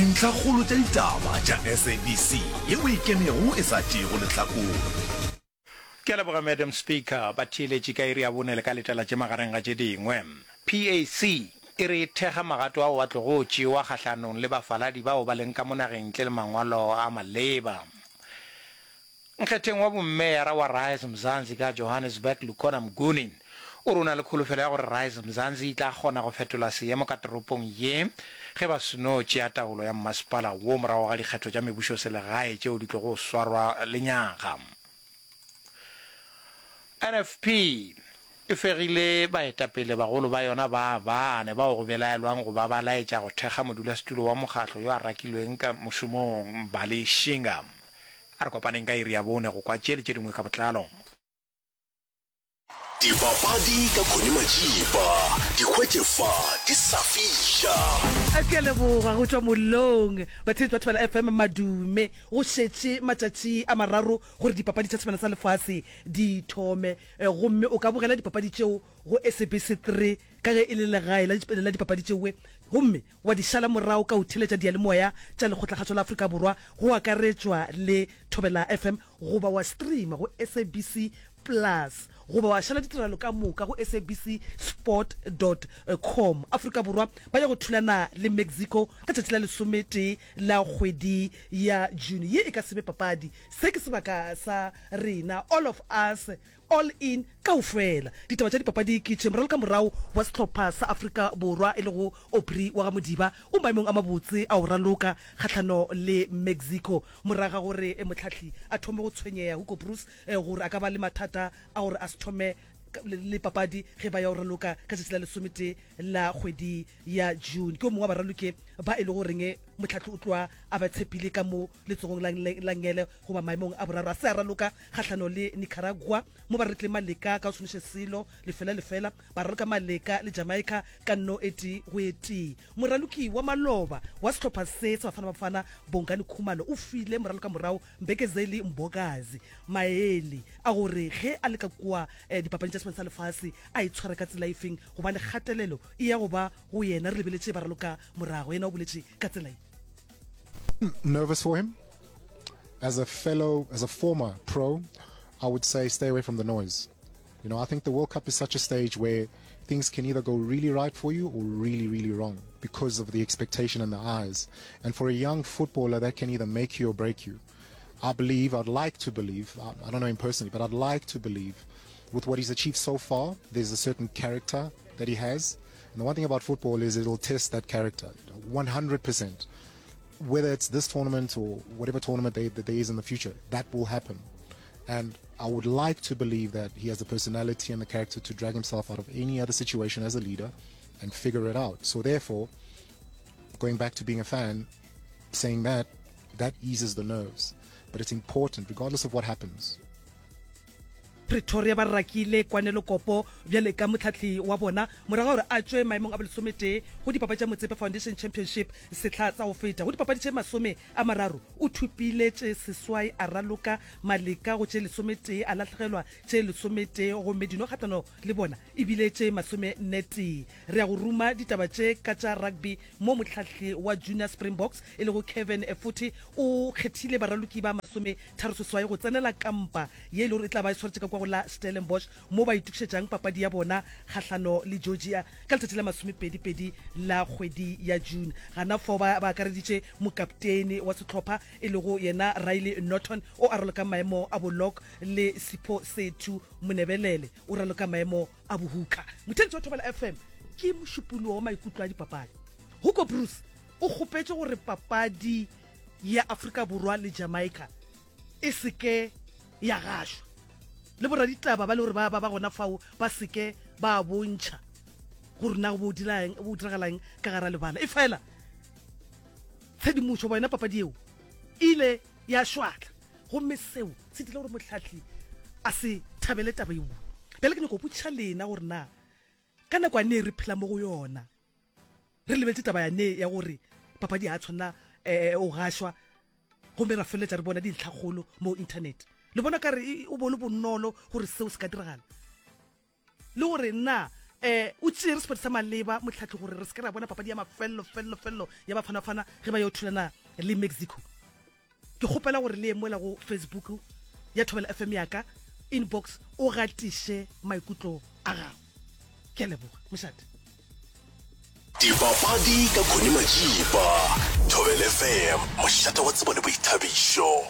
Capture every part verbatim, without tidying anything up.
Dintlhakgolo tša ditaba tša S A B C yeo e ikemego e sa tšeego lehlakore. Ke a leboga, Madam Speaker. Batheeletši ka iri ya bone le ka letela tše magareng ga tše dingwe. P A C e re e thekga magato ao a tlogo tšewa kgahlanong le bafaladi bao ba leng ka mo nageng ntle le mangwalo a maleba. Nkgetheng wa bommeyara wa Rise Mzansi ka Johannesburg, Lukhona Mnguni, o re o na le kholofelo ya gore Rise Mzansi e tla kgona go fetola seemo ka toropong ye ge ba seno tšea taolo ya mmasepala wo morago ga dikgetho tša mebušoselegae tšeo di tlogo swarwa lenyaga. N F P e fegile baetapele bagolo ba yona ba bane bao go belaelwang go ba ba laetša go thekga modulasetulo wa mokgatlo yo a rakilweng ka mošomong, Mbali Shinga. A re kopaneng ka iri ya bone go kwa tše le tše dingwe ka botlalo. Dipapadi ka Connie Majiba, di hwetše fa di sa fiša. Ke a leboga go tšwa mollong, batheetši ba Thobela F M. Madume. Go šetše matšatši a mararo gore dipapadi tša Sebjana sa Lefase di thome, gomme o ka bogela dipapadi tšeo go S A B C three ka ge e le legae la dipapadi tšeoe, gomme wa di šala morago ka go theeletša diyalemoya tša Lekgotlakgašo la Afrika Borwa go akaretšwa le Thobela F M, goba wa streama go S A B C Plus, goba wa šala ditiragalo ka moka go S A B C sport dot com. Afrika Borwa ba ya go thulana le Mexico ka tšatši la lesometee la kgwedi ya June. Ye e ka se be papadi, se ke sebaka sa rena, all of us, all in, kaofela. Ditaba tša dipapadi ke tše: moralokamorago wa sehlopha sa Afrika Borwa e lego Aubrey wa ga Modiba o maemong a mabotse a go raloka kgahlano le Mexico morago ga gore mohlahli a thome go tshwenyega, Hugo Broos, gore a ka ba le mathata a gore a se thome le papadi ge ba ya go raloka ka tšatši la lesometee la kgwedi ya June. Ke o mongwe wa baraloke ba e le goreng mohlahli o tloa a ba tshepile ka mo letsogong la ngele goba maemong a boraro. A se a raloka kgahlano le Nicaragua mo ba ralotleng maleka ka go senoše selo, lefela lefela, ba raloka maleka le Jamaica ka nno e tee go e tee. Moraloki wa maloba wa sehlopha se sa Bafana Bafana, Bongani Khumalo, o file moralokamorago Mbekezeli Mbokazi maele a gore ge a le ka kua dipapading tša Sebjana sa Lefase a itshware ka tsela efeng, gobane kgatelelo e ya go ba go yena re lebeletše baraloka morago. Yena o boletše ka tsela ye. Nervous for him. As a fellow, as a former pro, I would say stay away from the noise. You know, I think the World Cup is such a stage where things can either go really right for you or really, really wrong because of the expectation and the eyes. And for a young footballer, that can either make you or break you. I believe, I'd like to believe, I, I don't know him personally, but I'd like to believe with what he's achieved so far, there's a certain character that he has. And the one thing about football is it'll test that character one hundred percent. Whether it's this tournament or whatever tournament they, that there is in the future, that will happen. And I would like to believe that he has the personality and the character to drag himself out of any other situation as a leader and figure it out. So therefore, going back to being a fan, saying that, that eases the nerves. But it's important, regardless of what happens. Pretoria ba rakile Kwanelo Kopo bjale ka mohlahli wa bona morago gore a tšwe maemong a bolesometee go dipapadi tša Motsepe Foundation Championship sehla sa go feta. Go dipapadi tše masome a mararo o thopile tše seswai, a raloka maleka go tše lesometee, a lahlegelwa tše lesometee, gomme dino kgahlano le bona e bile tše masomennetee. Re ya go ruma ditaba tše ka tša rugby mo mohlahli wa Junior Springboks e lego Kevin Futhi o kgethile baraloki ba masome tharo seswai go tsenela kampa ye e le gore e tla ba e swaretše ka kwa go la Stellenbosch mo ba itokišetšang papadi ya bona kgahlano le Georgia ka letšatši la masomepedi-pedi la kgwedi ya June. Gana fao ba ba akareditše mokaptene wa sehlopha e lego yena Riley Norton o a raloka maemo a bo-lock le Sipho Sethu Monebelele o raloka maemo a bohuka. Motheletši wa Thobela F M, ke mošupologo wa maikutlo a dipapadi. Hugo Broos o kgopetše gore papadi ya Afrika Borwa le Jamaica e se ke ya gašwa le boraditaba ba le gore ba ba gona fao ba se ke ba bontšha gore na go diragalang ka gara lebala. E fela tshedimošo ba yona papadi eo ile ya šwatla, gomme seo se dira gore mohlahli a se thabele taba eo. Bjale ke nyako botšiša lena gore na ka nako ya ne re phela mo go yona, re lebeletse taba ya ne ya gore papadi ya tshwanela um o gašwa, gomme ra feleletša re bona dintlhakgolo mo internet, le bona ka re o bone bonolo gore seo se ka diragala, le gore na um o tšere sephetho sa maleba motlhatli gore re se ke ra bona papadi ya mafelelo felelo felelo ya Bafana-Bafana ge ba yo thulana le Mexico? Ke kgopela gore le ye mola go Facebook ya Thobela F M ya ka inbox, o gatiše maikutlo a gago. Ke a leboga, mošate. Dipapadi ka Connie Majiba. Thobela F M, mošate wa tsebo le boithabišo.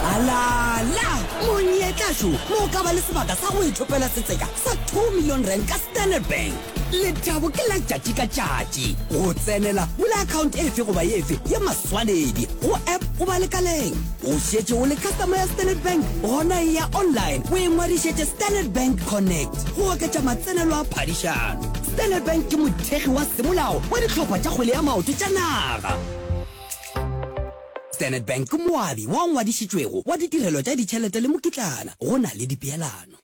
Alala! Monyetla šo mo o ka ba le sebaka sa go ithopela setseka sa two million rand ka Standard Bank. Lethabo ke la tšatši ka tšatši. Go tsenela, bula account efe goba efe ya maswanedi go app goba lekaleng. O šetše o le customer ya Standard Bank? Gona eya online o ingwadišetše Standard Bank Connect go oketša matsenelo a phadišano. Standard Bank ke mothekgi wa semolao wa dihlopha tša kgwele ya maoto tša naga. Standard Bank ke moabi wa ngwadišitšwego wa ditirelo tša ditšhelete le mokitlana go na le dipeelano.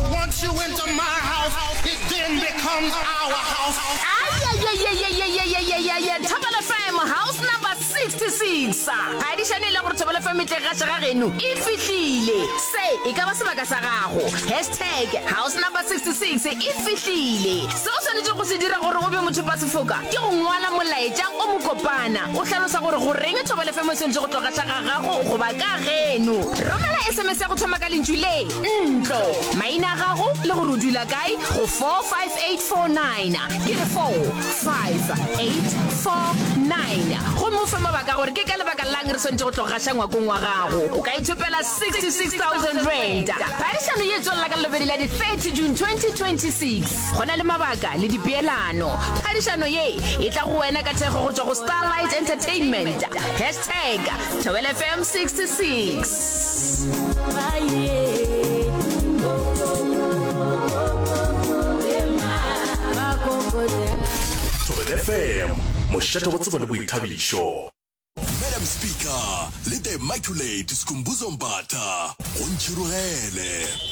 Once you enter my house, it then becomes our house. Ayayayayayayayayaya, Thobela F M house number sixty-six. Phadišano e le gore Thobela F M e tle gaša ga geno e fihlile. Se e ka ba sebaka sa gago. Hashtag house number sixty-six e fihlile. Se o swanetše go se dira gore o be mothopa sefoka ke go ngwala molaetša o mokopana o hlalosa gore go reng Thobela F M e swanetše go tlo gaša ga gago goba ka geno. Romela S M S ya go thoma ka lentšu le ntlo, maina a gago le gore o dula kae go four five eight four nine, ke re four five eight four nine, gomme o fe mabaka gore ke ka lebaka lang re swanetše go tlo gaša ngwakong wa gago. O ka ithopela sixty-six thousand rand. Phadišano ye tswelela ka lebedi la di thirty June twenty twenty-six. Go na le mabaka le dipeelano. Phadišano ye e tla go wena ka thekgo go tšwa go Starlight Entertainment. Hashtag Thobela F M sixty-six. Thobela F M, mošate wa tsebo le boithabišo. Madam Speaker le The Immaculate Skhumbuzo Mbatha go ntšhirogele.